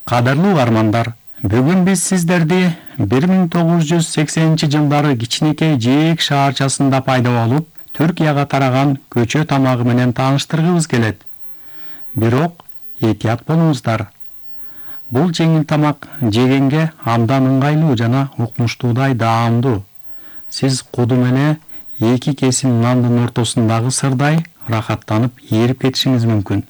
Кадырлуу угармандар, бүгүн биз сиздерди 1980-жылдары кичинекей Жээк шаарчасында пайда болуп, Түркияга тараган көчө тамагы менен тааныштыргыбыз келет. Бирок этият болуңуздар. Бул жеңил тамак жегенге абдан ыңгайлуу жана укмуштуудай даамдуу. Сиз кудум эле 2 кесим нандын ортосундагы сырдай рахаттанып ээрип кетишиңиз мүмкүн.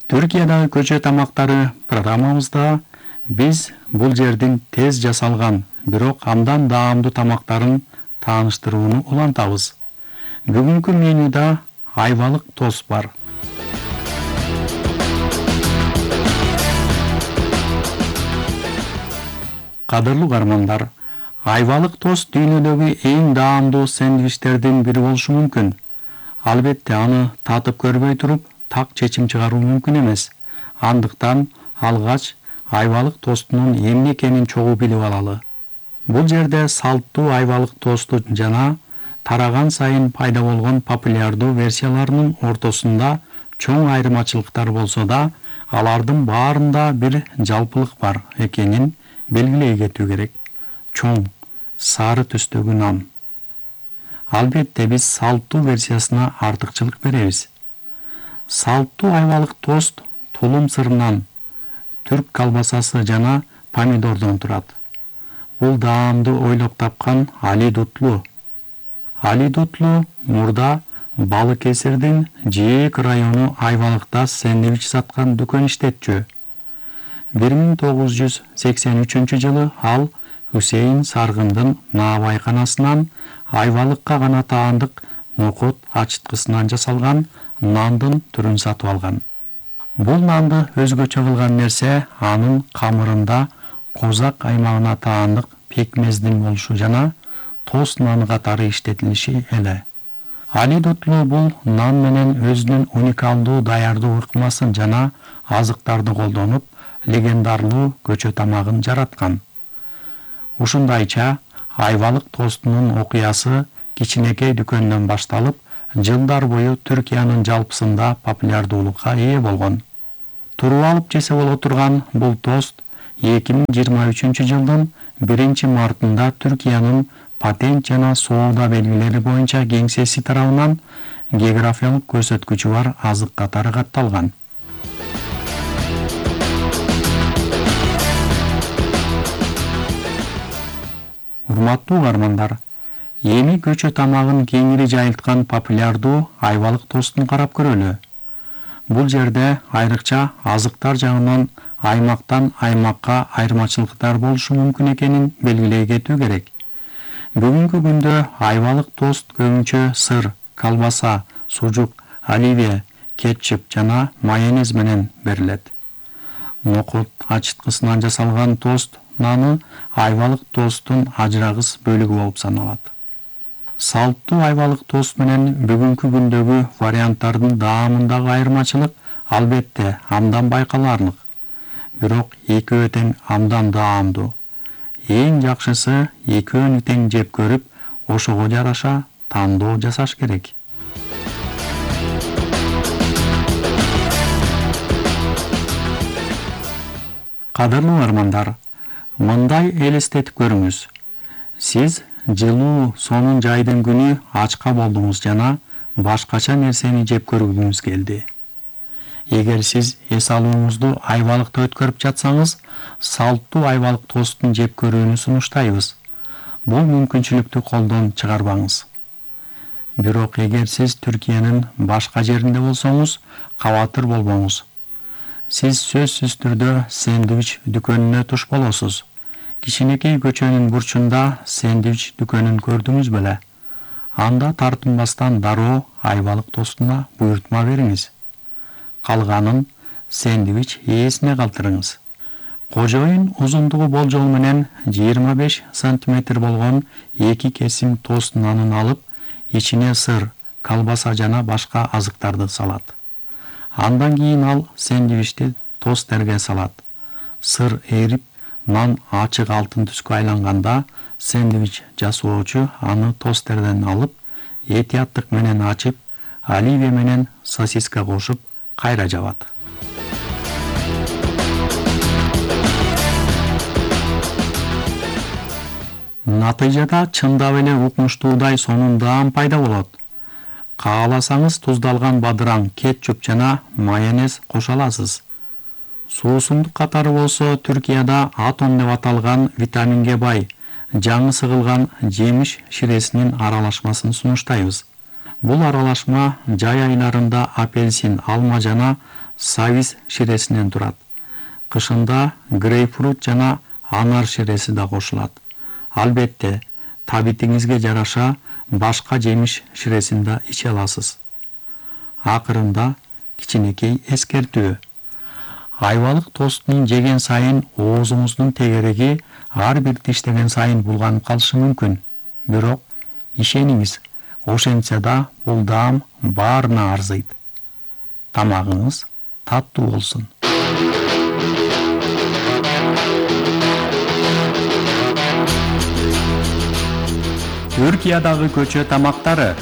Түркиядагы көчө тамактары программабызда биз бул жердин тез жасалган, бирок абдан даамдуу тамактарын тааныштырууну улантабыз. Бүгүнкү менюда айвалык тост бар. Кадырлуу угармандар, айвалык тост дүйнөдөгү эң даамдуу сэндвичтердин бири болушу мүмкүн. Албетте аны татып көрбөй туруп, так чечим чыгаруу мүмкүн эмес. Андыктан алгач айвалык тостунун эмне экенин чогуу билип алалы. Бул жерде салттуу айвалык тосту жана тараган сайын пайда болгон популярдуу версияларынын ортосунда чоң айырмачылыктар болсо да, алардын баарында бир жалпылык бар экенин белгилей кетүү керек. Чоң, сары түстөгү нан. Албетте биз салттуу версиясына артыкчылык беребиз. Салттуу айвалык тост тулум сырынан, түрк колбасасы жана помидордон турат. Бул даамды ойлоп тапкан Али Дутлу. Али Дутлу мурда Балык Эсирдин Жээк району айвалыкта сэндвич саткан дүкөн иштетчү. 1983-жылы ал Хусейин Саргындын наабайканасынан айвалыкка гана таандык нокот ачыткысынан жасалган нандын түрүн сатып алган. Бул нанды өзгөчө кылган нерсе анын камырында Козак аймагына таандык пекмездин болушу жана тост наны катары иштетилиши эле. Али Дутлу бул нан менен өзүнүн уникалдуу даярдоо ыкмасын жана азыктарды колдонуп, легендарлуу көчө тамагын жараткан. Ушундайча айвалык тостунун окуясы кичинекей дүкөндөн башталып, жылдар бою Түркиянын жалпысында популярдуулукка ээ болгон. Туруп алып жесе боло турган бул тост 2023-жылдын 1-мартында Түркиянын патент жана соода белгилери боюнча кеңсеси тарабынан географиялык көрсөткүчү бар азык катары катталган. Урматтуу угармандар, эми көчө тамагын кеңири жайылткан популярдуу айвалык тостун карап көрөлү. Бул жерде айрыкча азыктар жагынан аймактан аймакка айырмачылыктар болушу мүмкүн экенин белгилей кетүү керек. Бүгүнкү күндө айвалык тост көбүнчө сыр, колбаса, сужук, оливия, кетчуп жана майонез менен берилет. Нокот ачыткысынан жасалган тост наны айвалык тосттун ажырагыс бөлүгү болуп саналат. Салттуу айвалык тост менен бүгүнкү күндөгү варианттардын даамындагы айырмачылык албетте абдан байкалаарлык. Бирок экөө тең абдан даамдуу. Эң жакшысы экөөнү тең жеп көрүп, ошого жараша тандоо жасаш керек. Кадырлуу угармандар, мындай элестетип көрүңүз. Сиз жылуу сонун жайдын күнү ачка болдуңуз жана башкача нерсени жеп көргүңүз келди. Эгер сиз эс алууңузду айвалыкта өткөрүп жатсаңыз, салттуу айвалык тосттун жеп көрүүнү сунуштайбыз. Бул мүмкүнчүлүктү колдон чыгарбаңыз. Бирок эгер сиз Түркиянын башка жеринде болсоңуз, кабатыр болбоңуз. Сиз сөзсүз түрдө сэндвич дүкөнүнө туш болосуз. Кичинекей көчөнүн бурчунда сэндвич дүкөнүн көрдүңүз беле? Анда тартынбастан дароо айвалык тостуна буйртма бериңиз. Калганын сэндвич ээсине калтырыңыз. Кожоюн узундугу болжол менен 25 сантиметр болгон 2 кесим тост нанын алып, ичине сыр, колбаса жана башка азыктарды салат. Андан кийин ал сэндвичти тосттерге салат. Сыр эрип, нан ачык алтын түскө айланганда, сэндвич жасоочу аны тосттерден алып, этияттык менен ачып, оливия менен сосиска кошуп, кайра жабат. Натыйжада чындап эле укмуштуудай сонун даам пайда болот. Кааласаңыз туздалган бадыраң, кетчуп жана майонез кошо аласыз. Суусундук катары болсо Түркияда атом деп аталган витаминге бай жаңы сыгылган жемиш ширесинин аралашмасын сунуштайбыз. Бул аралашма жай айларында апельсин, алма жана савиз ширесинен турат. Кышында грейпфрут жана анар ширеси да кошулат. Албетте, табитиңизге жараша башка жемиш ширесин да иче аласыз. Акырында кичинекей эскертүү. Айвалык тосттун жеген сайын оозуңуздун тегереги ар бир тиштеген сайын булганып калышы мүмкүн. Бирок ишениңиз, ошентсе да бул даам баарына арзыйт. Тамагыңыз таттуу болсун. Түркиядагы көчө тамактары.